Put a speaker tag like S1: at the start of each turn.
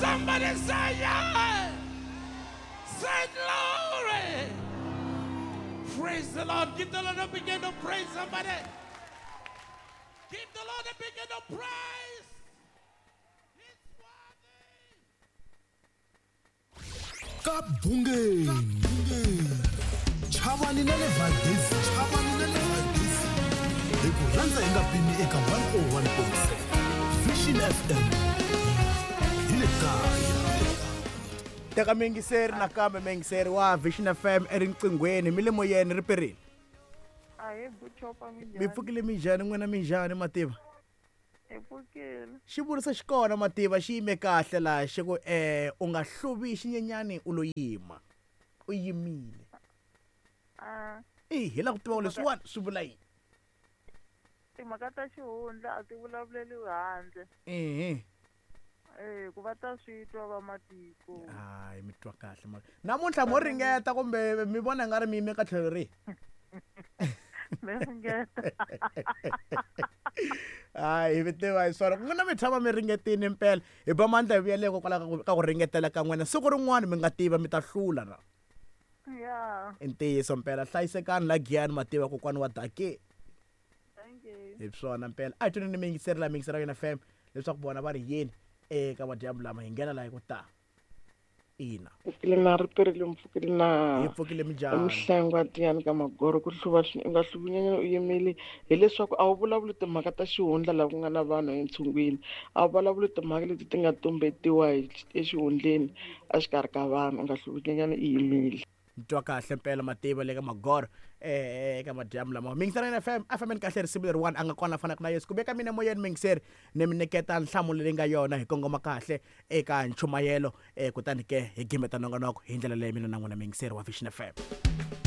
S1: Somebody say yeah. Say glory. Praise the Lord. Give the Lord a begin to praise somebody. Give the Lord a begin to praise. It's worthy.
S2: Ka bungeni chavani na le Valdez, chavani na le Valdez, hi ku rhandza hi nga pimi eka 101.7 Vision FM hi le kaya.
S3: Teka miyingiseri nakambe, miyingiseri wa Vision FM erinqinghweni, mi le moyeni, ri perile.
S4: Ahe, buchopa.
S3: Mi
S4: Minjhani?
S3: pfukile, minjhani n'wina, minjhani mativa?
S4: Hi pfukile.
S3: Xivuriso xi kona mativa, xi yime kahle laha, xi ku u nga hluvi xinyenyani u lo yima u yimile.
S4: A
S3: I hi la ku tiva ku leswiwani swi vula yini.
S4: Timhaka ta xihundla a ti vulavuleliwi handle.
S3: Ehe.
S4: Eh, ku va ta swi twa va matiko.
S3: Hayi, mi twa kahle ma namuntlha mo ringeta kumbe mi vona nga ri mi yime ka tlhelo rihi?
S4: Mi ringeta.
S3: Hayi, mi tiva hi swona n'wina, mi tshama mi ringetini mpela. Hi ba mandla hi vuyele hikokwalaho ka ku ringetela ka n'wina, siku rin'wana mi nga tiva mi ta hlula na.
S4: Ya.
S3: I ntiyiso mpela, hlayisekani la giyani mativa, kokwani wa dake.
S4: Thank you.
S3: Hi swona mpela, a hi tweni ni miyingiseri la miyingiseri ya yona FM leswaku vona va ri yini eka madyambu lama hi nghena laha hi ku ta ina.
S5: Pfukile na ri perile, mpfukile na.
S3: Hi pfukile, minjhani?
S5: Mihlengo tiyani ka magoro ku hluva u nga hluvi nyanyana u yimile, hileswaku a wu vulavuli timhaka ta xihundla laha ku nga na vanhu entshungwini, a wu vulavuli timhaka leti ti nga tumbetiwa hi exihundleni exikarhi ka vanhu. U nga hluvi nyenyana i yimile.
S3: Mi twa kahle mpela mativa le ka magoro eka madyambu lama mingiseri ya FM a fambeni kahle. Risimu leriwani a nga kona fanaka na Yesu ku veka mina moyeni, mingiseri ni mi nyiketa nhlamulo leyi nga yona, hi kongoma kahle eka nchumayelo, kutani ke hi gimeta nongonoko hi ndlela leyi mina na n'wina, mingiseri wa Vision FM.